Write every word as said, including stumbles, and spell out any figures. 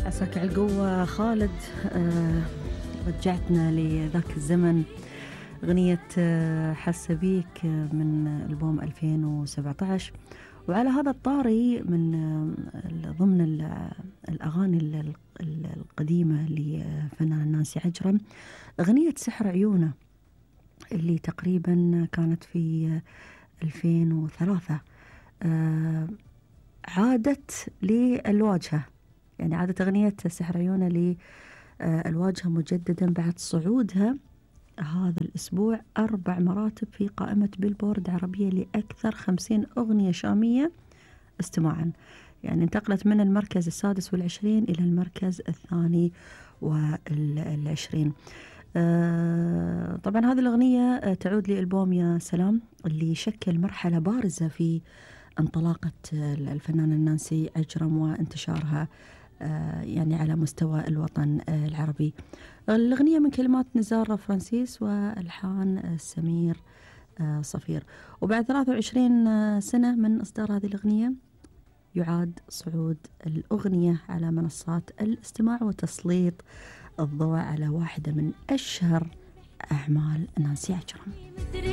عساك على القوة خالد. آه رجعتنا لذاك الزمن، أغنية آه حاسة بيك من ألبوم ألفين وسبعة عشر. وعلى هذا الطاري من آه ضمن الأغاني القديمة لفنان نانسي عجرم، أغنية سحر عيونه اللي تقريبا كانت في ألفين وثلاثة. آه عادت للواجهة، يعني عادت أغنية سحر عيونه للواجهة مجددا بعد صعودها هذا الأسبوع أربع مراتب في قائمة بيلبورد عربية لأكثر خمسين أغنية شامية استماعا. يعني انتقلت من المركز السادس والعشرين إلى المركز الثاني والعشرين. آه طبعا هذه الأغنية تعود لألبوم يا سلام اللي شكل مرحلة بارزة في انطلاقة الفنانة نانسي عجرم وانتشارها آه يعني على مستوى الوطن آه العربي. الأغنية من كلمات نزار فرانسيس والحان سمير آه صفير. وبعد ثلاثة وعشرين سنة من إصدار هذه الأغنية يعاد صعود الأغنية على منصات الاستماع وتسليط الضوء على واحدة من أشهر أعمال نانسي عجرم.